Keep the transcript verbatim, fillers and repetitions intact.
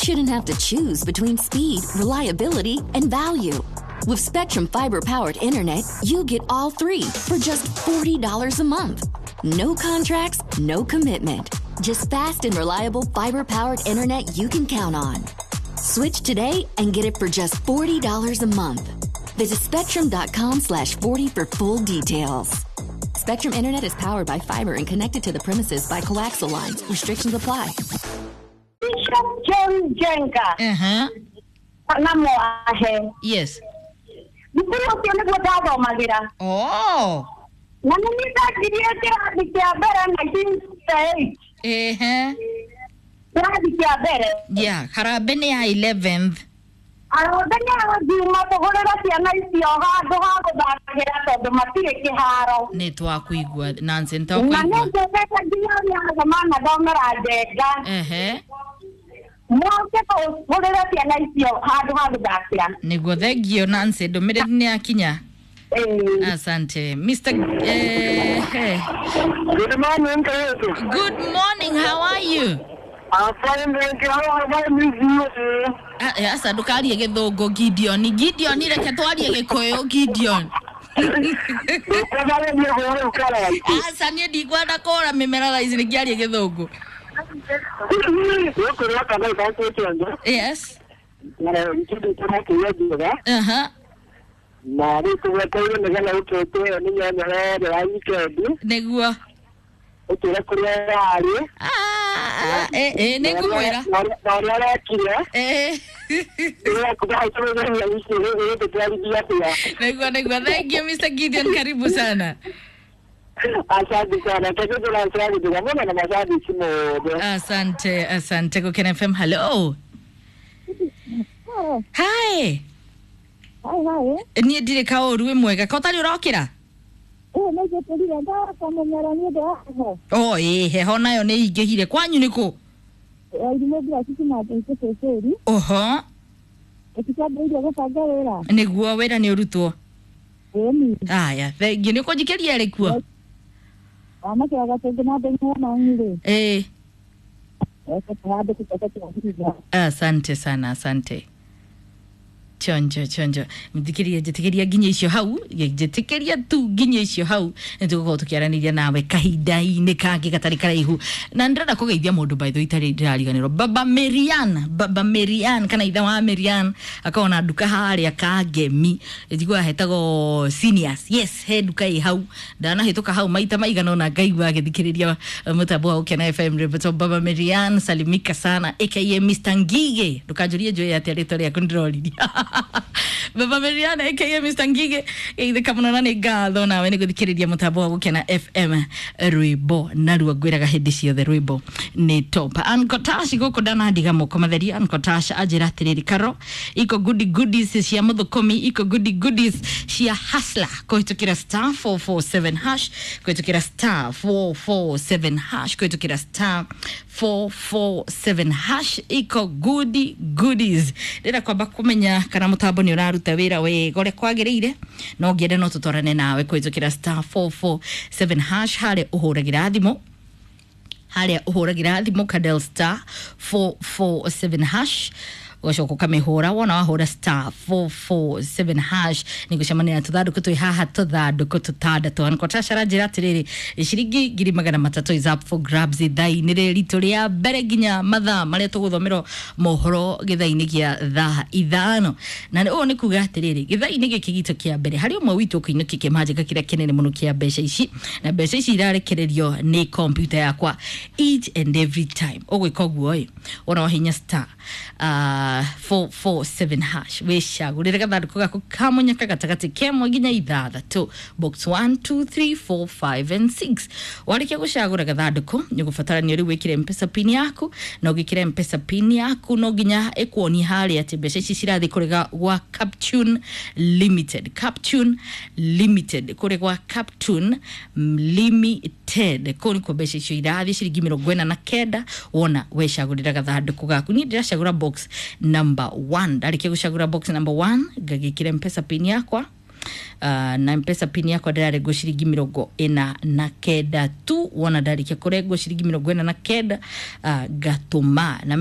shouldn't have to choose between speed, reliability, and value. With Spectrum Fiber-powered internet, you get all three for just forty dollars a month. No contracts, no commitment. Just fast and reliable fiber-powered internet you can count on. Switch today and get it for just forty dollars a month. Visit spectrum dot com slash forty for full details. Spectrum Internet is powered by fiber and connected to the premises by coaxial lines. Restrictions apply. Bishop John Jenga Aha. na Mwahe. Yes. Thukuru ũcio nĩguo ndathomagĩra. Oh. Na nĩ niĩ ndanjirie kĩrathi kĩa mbere nineteen sixty-eight. Ehe. Kĩrathi kĩa mbere. Yeah, harambee nĩ ya eleventh. Arothe nĩ ngiuma tũgũrĩre ciana icio handũ ha gũthakagĩra tondũ matirĩ kĩharo. Nĩ twakuigua, Nancy, nĩ Na nĩ twakuigua. njũkĩte nginya ũrĩa athoma na thomera Njenga. Ehe. Moke tũgũrĩre ciana icio handũ ha gũthakĩra. Nĩguo, thengio, Nancy, ndũmĩrĩri nĩ yakinya. Ĩĩ. Asante. Mister Eh, eh. Good morning, Kayutu. Good morning, how are you? I'm fine, thank you. How are you? Ah, eh, aca ndũkarie gĩthũngũ, Gideon. Gideon, reke twarie gĩkũyũ, Gideon. Aca niĩ ndikwenda kũra mĩmera thaa ici nĩngĩaria gĩthũngũ. Yes. Aha. Na rĩu tũgweteire nĩgetha ũtwĩte ĩyo nĩ nyanya ĩrĩa ya weekend. Nĩguo. Ũtwĩre kũrĩa yarĩ. Ah, eh, eh, nĩngũmwĩra. Na ũrĩa ũrekire. Eh. Nĩgetha wiki ĩgũtũtwarithia atĩa. Nĩguo, nĩguo. Thank you, Mister Gideon, karibu sana. Asante sana, tũkĩtũracagĩtĩra mũno na macabiki mothe. Asante, asante. Gũkena F M, hello. Hi. Hi, hi. Niĩ ndirĩ kaũru, wĩ mwega ka ũtarĩ ũrokĩra? Ĩĩ, nĩ njũkĩrire ndakamũmera nĩ ũndũ wa heho. O ĩ, heho nayo nĩ ingĩhire. Kwanyu nĩ kũ? Irimũ mbura cicinate icicĩcĩri. Oho. Ĩtikambĩrĩirie gũbanga wĩra. Nĩguo, wĩra nĩ ũrutwo. Ĩni. Aya, thengiũ, nĩ ũkũnjikĩria rĩ kuo? Wanake gatũngĩ na ndeng'e mangi-rĩ. Ĩ. Eke tũhande tũcoke tũgacithia. Asante sana, asante. Chonjo, chonjo, mthikĩria, njĩtĩkĩria nginya icio hau, njĩtĩkĩria tu nginya icio hau, nĩ tũgũkorwo tũkĩaranĩria nawe kahinda-inĩ kangĩ gatarĩ karaihu. Na ndĩrenda kũgeithia mũndũ, by the way, itarĩ ndĩrariganĩrwo, Baba Marian, Baba Marian kana ithe wa Marian, akorwo na nduka harĩa Kangemi, njiguaga hetagwo Seniors. Yes, he nduka ĩ hau, ndanahĩtũka hau maita maigana ũna ngaigua agĩthikĩrĩria mũtambo wa Gũkena F M rĩmbo. Baba Marian, salimika sana, aka Mister Ngige. Ndũkanjũrie njũĩ atĩa rĩtwa rĩaku, ndĩroririe. Baba Marian aka Mister Ngige, geithĩka mũno na nĩ ngatho nawe nĩ gũthikĩrĩria mũtambo wa Gũkena F M. Rwĩmbo naruo ngwĩraga hĩndĩ ciothe, rwĩmbo nĩ top. Ankotash gũkũ ndanandiga moko matheri. Ankotash anjĩra atĩrĩrĩ, Karo, iko goodie goodies cia mũthũkũmi, iko goodie goodies cia hustler, kũhĩtũkĩra star four four seven hash, kũhĩtũkĩra star four four seven hash, kũhĩtũkĩra star four four seven hash, iko goodie goodies. Ndĩrenda kwamba kũmenya kana mũtambo nĩ ũraruta wĩra wega ũrĩa kwagĩrĩire. No ngĩende no tũtwarane nawe kũhĩtũkĩra star four four seven hash, harĩa ũhũragĩra thimũ, harĩa ũhũragĩra thimũ kadel star four four seven hash, ũgacoka ũkamĩhũra. Wona wahũra star four four seven hash, nĩ gũcemania na tũthandũkũ twĩ haha, tũthandũkũ tũtandatũ. Ankotacara njĩra atĩrĩrĩ, ciringi ngiri magana matatũ is up for grabs ithaa-inĩ rĩrĩ ritũ rĩa mbere nginya mathaa marĩa tũgũthomerwo mohoro gĩthaa-inĩ gĩa thaa ithano. Na ũũ nĩ kuga atĩrĩrĩ, gĩthaa-inĩ gĩkĩ gitũ kĩa mbere harĩ ũmwe witũ ũkũinũkia kĩmanjĩka kĩrĩa kĩnene mũno kĩa mbeca ici, na mbeca ici irarekererio nĩ kompiuta yakwa each and every time. Ũgwĩka ũguo ĩ, wona wahinya star uh, four four seven hash, wĩcagũrĩre gathandũkũ gaku kamũnyaka gatagatĩ kemwe nginya ithathatũ, box one, two, three, four, five and six. Warĩkia gũcagũra gathandũkũ, nĩ ũgũbatarania rĩu wĩkĩre Mpesa PIN yaku. Na ũgĩkĩra Mpesa PIN yaku, no nginya ĩkuonie harĩa atĩ mbeca ici cirathiĩ kũrĩ gwa Captune Limited, Captune Limited, kũrĩ gwa Captune Limited, kũu nĩkuo mbeca icio irathiĩ, ciringi mĩrongo ĩna na kenda. Wona wecagũrĩra gathandũkũ gaku, niĩ ndĩracagũra box number one. Ndarĩkia gũcagũra box number one, ngagĩkĩra Mpesa PIN yakwa, uh, na Mpesa PIN yakwa ndĩrarengwo ciringi mĩrongo ĩna na kenda tu. Wona ndarĩkia kũrengwo ciringi mĩrongo ĩna na kenda, uh, ngatũma na